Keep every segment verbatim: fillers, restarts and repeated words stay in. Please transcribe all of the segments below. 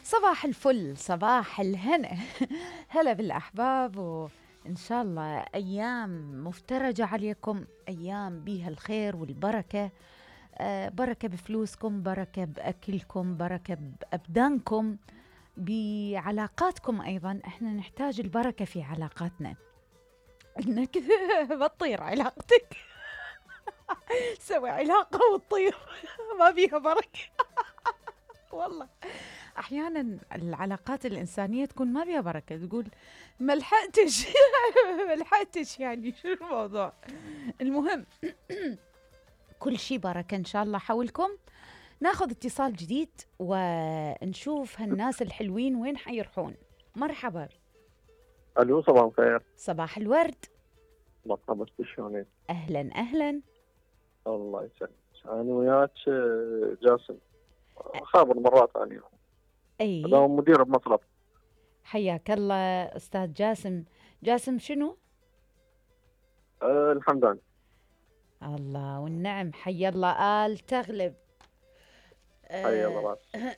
صباح الفل، صباح الهنا. هلا بالأحباب، وإن شاء الله أيام مفترجة عليكم، أيام بيها الخير والبركة. آه بركة بفلوسكم، بركة بأكلكم، بركة بأبدانكم، بعلاقاتكم. أيضا إحنا نحتاج البركة في علاقاتنا. إنك بتطير علاقتك سوي علاقة وتطير ما بيها بركة. والله أحيانا العلاقات الإنسانية تكون ما بيها بركة، تقول ملحقتش ملحقتش يعني شو الموضوع. المهم كل شي بركة إن شاء الله حولكم. ناخذ اتصال جديد ونشوف هالناس الحلوين وين حيرحون. مرحبا. الو صباح الخير. صباح الورد. مرحبا، شلونك؟ أهلا أهلا. الله يسلمك. أنا وياك جاسم، خابر مرات أنا. أي هذا مدير بمصرف. حياك الله أستاذ جاسم. جاسم شنو؟ أه الحمدان. الله والنعم، حي الله آل تغلب. حي الله راس.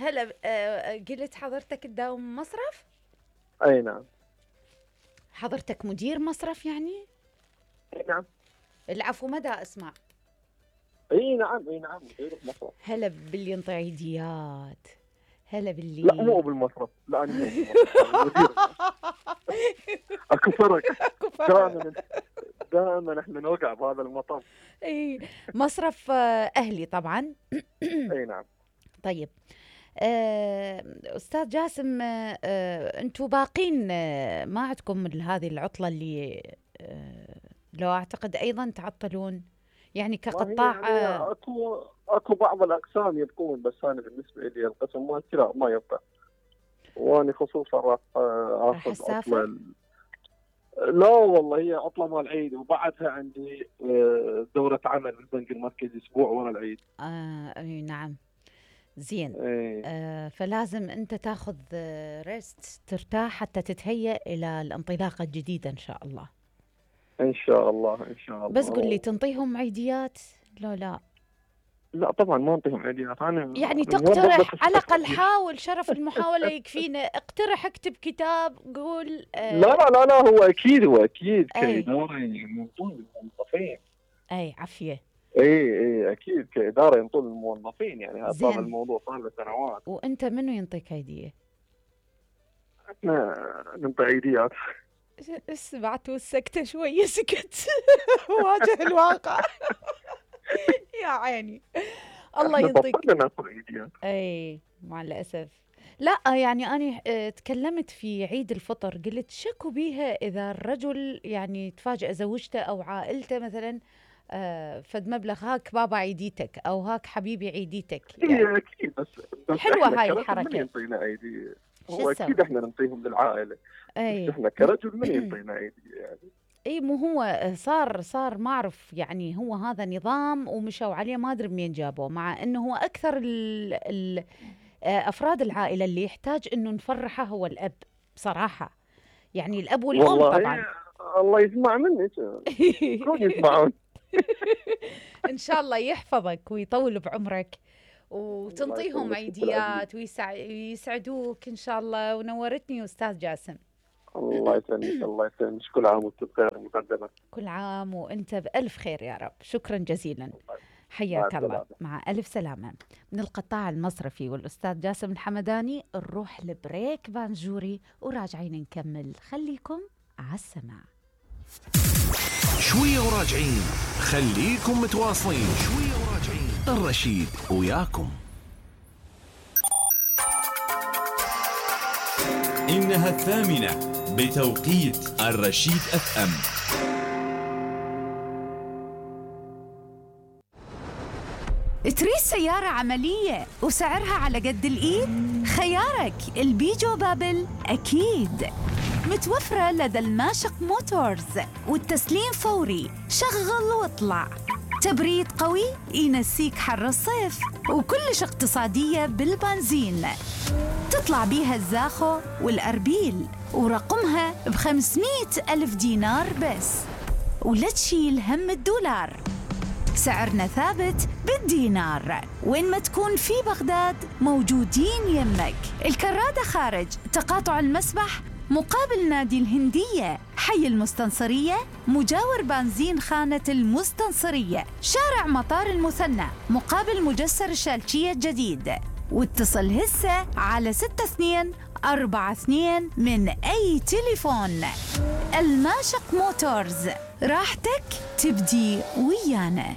هلا. أه قلت حضرتك تداوم مصرف؟ أي نعم. حضرتك مدير مصرف يعني؟ أي نعم. العفو، مدى أسمع. اي نعم اي نعم مدير بمصرف. هلا باللي ينطي عيديات. هلا باللي لا مو بالمصرف، لا انا مو بالمصرف. اكو فرق. دائما دائما احنا نوقع بهذا المطب. اي مصرف اهلي طبعا. اي نعم. طيب استاذ جاسم، انتم باقين ما عندكم هذه العطله اللي لو اعتقد ايضا تعطلون يعني كقطاع؟ يعني اكو اكو بعض الاقسام يبقون، بس انا بالنسبه لي القسم مالتي لا ما يبقى. وانا خصوصا راح اخذ عطله. لا والله هي عطله مال العيد، وبعدها عندي دوره عمل بالبنك المركزي اسبوع ورا العيد. اه اي نعم. زين. ايه. آه فلازم انت تاخذ ريست ترتاح حتى تتهيأ الى الانطلاقه الجديده ان شاء الله. ان شاء الله ان شاء الله. بس قل لي تنطيهم عيديات؟ لا لا لا طبعا ما انطيهم عيديات. انا يعني تقترح على الاقل، حاول، شرف المحاوله يكفينا. اقترح، اكتب كتاب، قول. آه لا لا لا لا هو اكيد هو اكيد كاداره ينطون الموظفين. اي عافيه. اي اي اكيد كاداره ينطون الموظفين، يعني هذا الموضوع صار له سنوات. وانت منو ينطيك عيديه؟ احنا ننطي عيديات. سمعت والسكتة شوية سكت. واجه الواقع. يا عيني الله ينطيك. اي مع الأسف. لا يعني أنا تكلمت في عيد الفطر، قلت شكو بيها إذا الرجل يعني تفاجأ زوجته أو عائلته مثلا آه فد مبلغ، هاك بابا عيديتك أو هاك حبيبي عيديتك. يعني أكيد. بس, بس حلوة هاي الحركة. من ينطينا عيدي؟ هو أكيد إحنا ننطيهم للعائلة. أي. بس إحنا كرجل من ينطينا عيدي يعني؟ اي مو هو صار صار ما اعرف يعني، هو هذا نظام ومشوا عليه ما ادري منين جابوه، مع انه هو اكثر ال ال افراد العائله اللي يحتاج انه نفرحه هو الاب بصراحه، يعني الاب والام طبعا. الله يسمع منك. كون يسمعون. ان شاء الله يحفظك ويطول بعمرك وتنطيهم عيديات ويسعدوك ان شاء الله. ونورتني استاذ جاسم. الله يسلمك. الله يسلمك. كل عام وانت بخير. مقدمة كل عام وانت بألف خير يا رب. شكرا جزيلا. حياك الله. مع ألف سلامة. من القطاع المصرفي والأستاذ جاسم الحمداني نروح لبريك بانجوري وراجعين نكمل. خليكم على السماع. شوية وراجعين، خليكم متواصلين. شوية وراجعين، الرشيد وياكم. إنها الثامنة بتوقيت الرشيد اف ام. تريد سيارة عملية وسعرها على قد الإيد؟ خيارك البيجو بابل أكيد. متوفرة لدى الماشق موتورز، والتسليم فوري. شغل واطلع. تبريد قوي ينسيك حر الصيف، وكلش اقتصادية بالبنزين. تطلع بيها الزاخو والأربيل، ورقمها بخمسمائة ألف دينار بس، ولا تشيل هم الدولار. سعرنا ثابت بالدينار. وين ما تكون في بغداد موجودين يمك. الكرادة خارج تقاطع المسبح مقابل نادي الهندية، حي المستنصرية مجاور بنزين خانة المستنصرية، شارع مطار المثنى مقابل مجسر الشالشية الجديد. واتصل هسه على ستة اثنين أربعة اثنين من أي تليفون. الماشق موتورز، راحتك تبدي ويانا.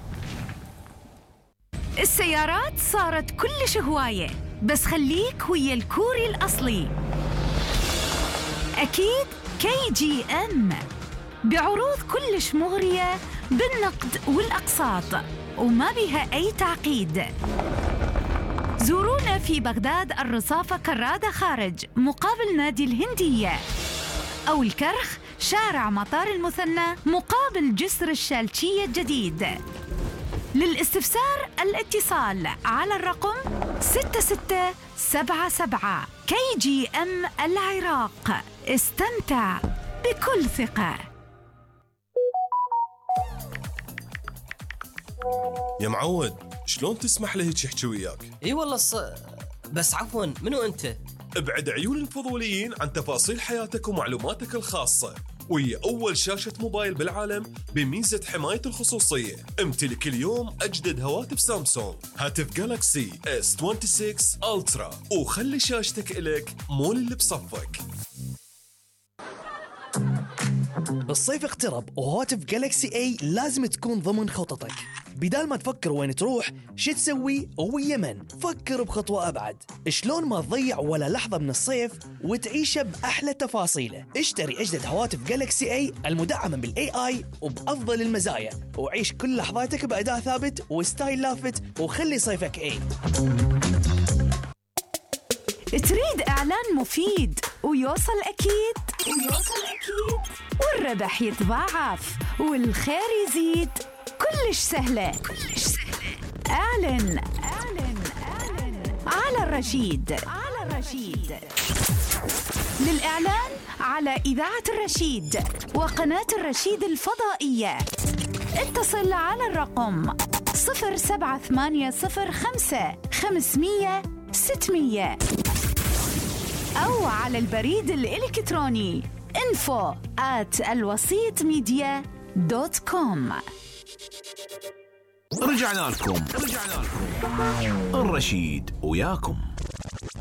السيارات صارت كلش هواية، بس خليك ويا الكوري الأصلي. أكيد كي جي أم بعروض كلش مغرية بالنقد والأقساط وما بها أي تعقيد. زورونا في بغداد الرصافة كرادة خارج مقابل نادي الهندية، أو الكرخ شارع مطار المثنى مقابل جسر الشالشية الجديد. للاستفسار الاتصال على الرقم ستة ستة سبعة سبعة. كي جي أم العراق، استمتع بكل ثقة. يا معود، شلون تسمح له هيك يحكي وياك؟ اي والله ص... بس عفوا، منو انت؟ ابعد عيون الفضوليين عن تفاصيل حياتك ومعلوماتك الخاصة، وهي أول شاشة موبايل بالعالم بميزة حماية الخصوصية. امتلك اليوم أجدد هواتف سامسونج، هاتف جالاكسي إس ستة وعشرين ألترا، وخلي شاشتك إلك مو اللي بصفك. الصيف اقترب وهواتف جالكسي اي لازم تكون ضمن خططك. بدال ما تفكر وين تروح شو تسوي ويا من، فكر بخطوة أبعد. شلون ما تضيع ولا لحظة من الصيف وتعيشه بأحلى تفاصيله. اشتري أجدد هواتف جالكسي اي المدعمة بالاي اي وبأفضل المزايا، وعيش كل لحظاتك بأداء ثابت وستايل لافت، وخلي صيفك اي. تريد إعلان مفيد ويوصل أكيد ويوصل أكيد والربح يتضاعف والخير يزيد؟ كلش سهلة كلش سهلة. أعلن أعلن أعلن على الرشيد على الرشيد. للإعلان على إذاعة الرشيد وقناة الرشيد الفضائية اتصل على الرقم صفر سبعة ثمانية صفر خمسة خمسمية ستمية أو على البريد الإلكتروني info at الوسيط ميديا دوت كوم. رجعنا لكم رجعنا لكم الرشيد وياكم.